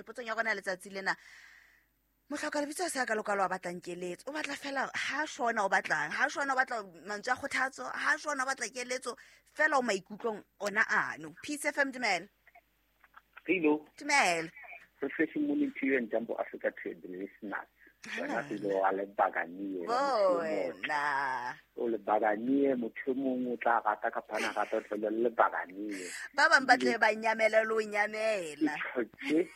Potsong ya rona letsatsi lena, mohloka lebitso a se a ka lokalo a batlang keletso, o batla fela ha shona, o batlang ha shona, o batla mantswe a kgothatso, ha shona o batla keletso fela, o maikutlong ona ano. Peace FM, dumela. Hello. Dumela. Refreshing morning to you and Jumbo Africa to the listeners. Wena pele wa lebakanie. Bona. O lebakanie, motho e mongwe o tla rata kapa ana rata, o tla le lebakanie. Ba bang ba tle ba nyamela le o nyamela. Ke tlhotse.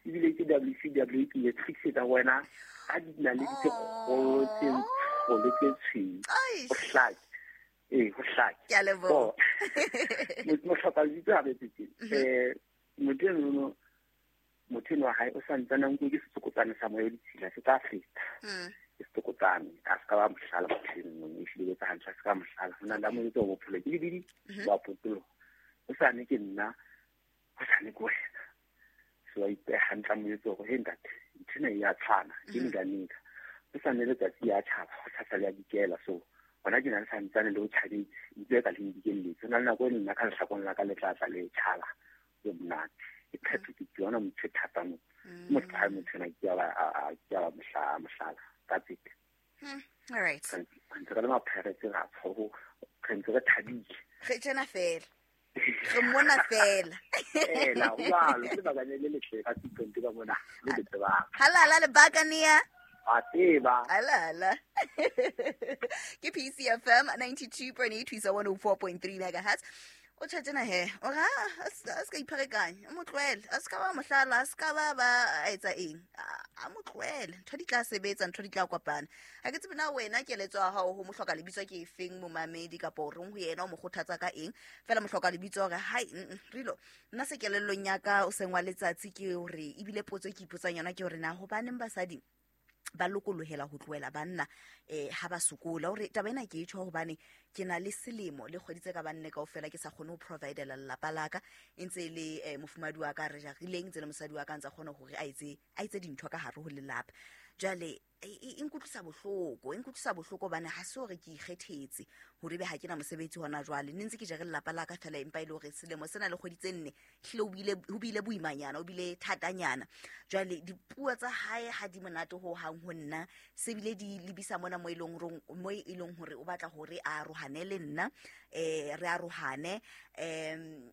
Ebile ke WCW ke le tlisetsa wena ka dinaledi tse kgolo tse ntsho le tse tshweu. O hlake. Ee, ho hlake. Ke a leboha. Motlhoka lebitso ha betse. Motho eno, motho eno wa hae o sa ntsane a nkuwe ke setsokotsane sa moya o ditshila, se tla feta. Ke setsokotsane, a se ka ba mohlala motho eno, ehlile o etsa hantle, a se ka mohlala. Ho na le a mo etsa hore bophelo ke lebidi, ba potoloha. O sa ne ke nna, o sa ne ke wena. So a ipeha hantle, a mo etse hore, hey ntate, ntho ena e a tshwana, ke nka nka. O sa ne letsatsi ya tjhaba, ho sasa le ya dikela, so hona ke na le santsane le o tjhabetse, ntse ka le dikelletse. Ho na le nako e nna ka lehlakong la ka le tla tla le tjhala, le monate. Ke phetho ke yona motho e thata mo. Motho ha motho ena ke a ba, ke a ba mohlala. That's it. All right. Re ntse re le mapheretse ra tshoho, re ntse re thabile. Re tjena fela. Re mona fela. Fela, jwalo, ke lebaka le le letle ka T20 ka mona, le le tsebang. Halala lebaka nea. A tseba. Halala. Ke PCFM 92.8 to 104.3 megahertz. O tjha tjena he, o re, a se ka ipherekanya, o mo tlohele, a se ka ba mohlala, a se ka ba ba a etsa eng, a mo tlohele, ntho di tla sebetsa, ntho di tla kopana. Ha ke tsebe na wena keletso ya hao ho mohloka lebitso ke efeng momamedi, kapa o reng ho yena, o mo kgothatsa ka eng? Fela mohloka lebitso hore, hai, Rilo, nna se kelellong ya ka o seng wa letsatsi ke hore, ebile potso e ke ipotsang yona ke hore na hobaneng basadi ba lokolohela ho tlohela banna, ha ba sokola. Hore taba ena ke e tjho hobane ke na le selemo le kgwedi tse ka banne kaofela ke sa kgone ho providela lelapa la ka, e ntse e le, mofumahadi wa ka re jarileng, ntse le mosadi wa ka ntse a kgona hore a etse dintho ka hare ho lelapa. Jwale, e nkutlwisa bohloko, e nkutlwisa bohloko hobane ha se hore ke ikgethetse hore ebe ha ke na mosebetsi hona jwale. Ne ntse ke jere lelapa la ka fela, empa e le hore selemo sena le kgwedi tse nne hlile ho bile boimanyana, ho bile thatanyana. Jwale dipuo tsa hae ha di monate ho hang ho nna, se bile di lebisa mona mo e leng hore, mo e leng hore o batla hore a arohane le nna, re arohane,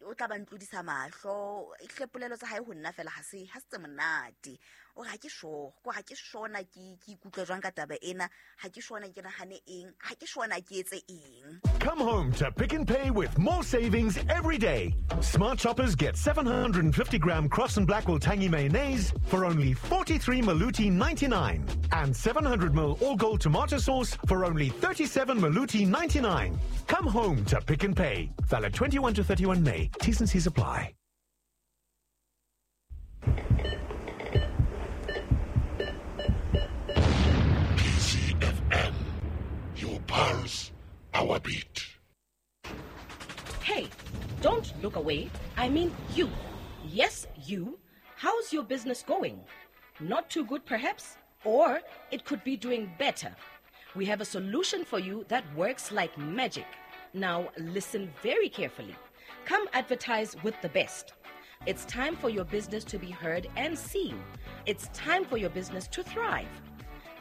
o tla ba ntlodisa mahlo. Ehlile polelo tsa hae ho nna fela ha se tse monate. O re ha ke sure, ko ha ke sure na ke ikutlwa jwang ka taba ena, ha ke sure na ke nahane eng, ha ke sure na ke etse eng. Come home to Pick n Pay with more savings every day. Smart shoppers get 750 gram Cross and Blackwell Tangy mayonnaise for only 43 Maluti 99 and 700 mil All Gold tomato sauce for only 37 Maluti 99. Come home to Pick n Pay. Valid 21 to 31 May. T's and C's apply. PCFM, your pulse, our beat. Hey, don't look away. I mean you. Yes, you. How's your business going? Not too good, perhaps? Or it could be doing better. We have a solution for you that works like magic. Now, listen very carefully. Come advertise with the best. It's time for your business to be heard and seen. It's time for your business to thrive.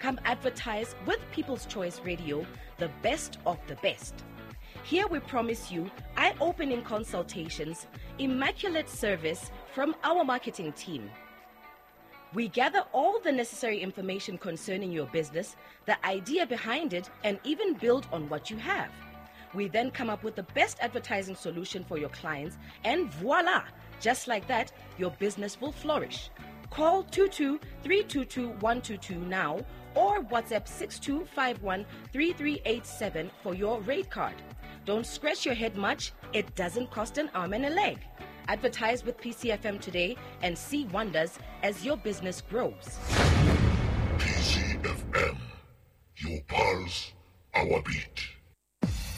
Come advertise with People's Choice Radio, the best of the best. Here we promise you eye-opening consultations, immaculate service from our marketing team. We gather all the necessary information concerning your business, the idea behind it, and even build on what you have. We then come up with the best advertising solution for your clients, and voila! Just like that, your business will flourish. Call 22-322-122 now or WhatsApp 6251-3387 for your rate card. Don't scratch your head much. It doesn't cost an arm and a leg. Advertise with PCFM today and see wonders as your business grows. PCFM, your pulse, our beat.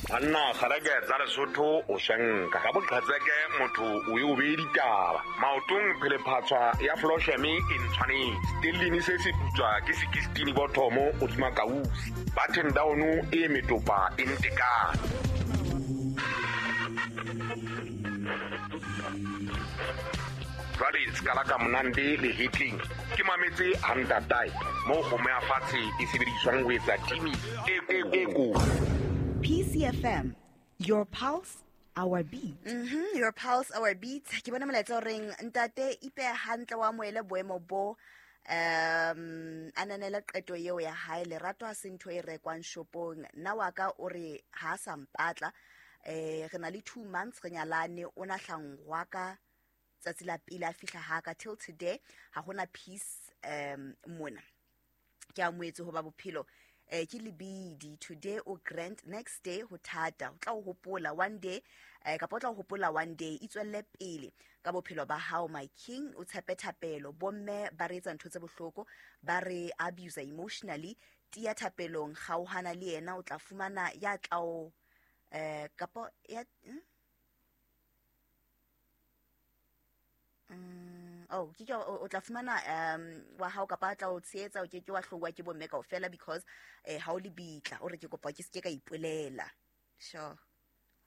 Banna kgareke tsa Lesotho o shenka ka boqhetseke motho o e o beye ditaba maotong phelephatswa ya Flosheme e ntshwanetse stellini se se putswa ke 16 bothomo hodima kausi button down e metopa e ntekane. Jwale Jwale ska la ka monande lehetleng ke mametse ha ntatae moo kgomo ya fatshe e sebediswang ho etsa timi e kotsi. PCFM, your pulse, our beat. Your pulse, our beat. Ke bona molaetsa o reng ntate ipeha hantle wa amohele boemo bo, ananela qeto eo ya hae. Lerato ha se ntho e rekwang shopong. Nna wa ka o re ha a sa mpatla. Re na le 2 months re nyalane, o na hlangwa ka tsatsi la pele a fihla ha ka till today ha hona peace mona. Ke amohetse hoba bophelo ke lebidi. Today o grand, next day ho thata. O tla o hopola one day, kapa o tla o hopola one day. Itswelle pele ka bophelo ba hao, my king. O tshepe thapelo. Bomme ba re etsa ntho tse bohloko, ba re abuse emotionally. Tiya thapelong, kgaohana le yena, o tla fumana ya tla o kapa ya oh ke ke o tla fumana wa hao kapa a tla o tshehetsa, o ke ke wa hlowa ke bomme kaofela because ha o le bitla. O re ke kopa ke se ke ka ipolela. Sure.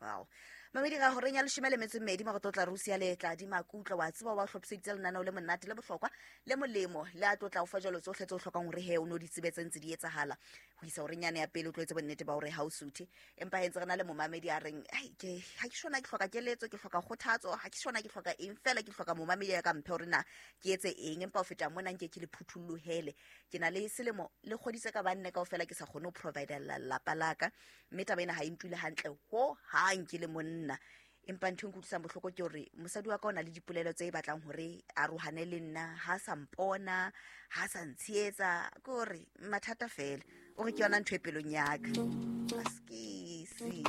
Wow. Mamedi ga horeng ya 12:02 mo go tlotla Russia le tla di makutlo wa tseba wa hlophiseditse lenaneo le monate le bohlokwa le molemo le a tlotla o fa jalo tsohle tse o hlokang hore he o no di tsebetse ntse di etsahala ho isa horeng yane ya pele o tlo etse bonnete ba hore ha o suthe. Empa he ntse re na le momamedi a reng ai ke ha ke shona ke hloka keletso, ke hloka kgothatso, ha ke shona ke hloka eng fela, ke hloka momamedi ya ka mphe hore na ke etse eng. Empa ho feta mona nke ke le phuthollohele. Ke na le selemo le kgodise ka banne kaofela ke sa kgone ho providela lelapa la ka, mme taba ena ha e ntule hantle ho hang ke le monna. Empa ntho e nkutlwisang bohloko ke hore mosadi wa ka o na le dipolelo tse batlang hore a rohane le nna, ha sa mpona, ha sa ntshehetsa, ke hore mathata fela. O re ke yona ntho e pelong ya ka. Askisi.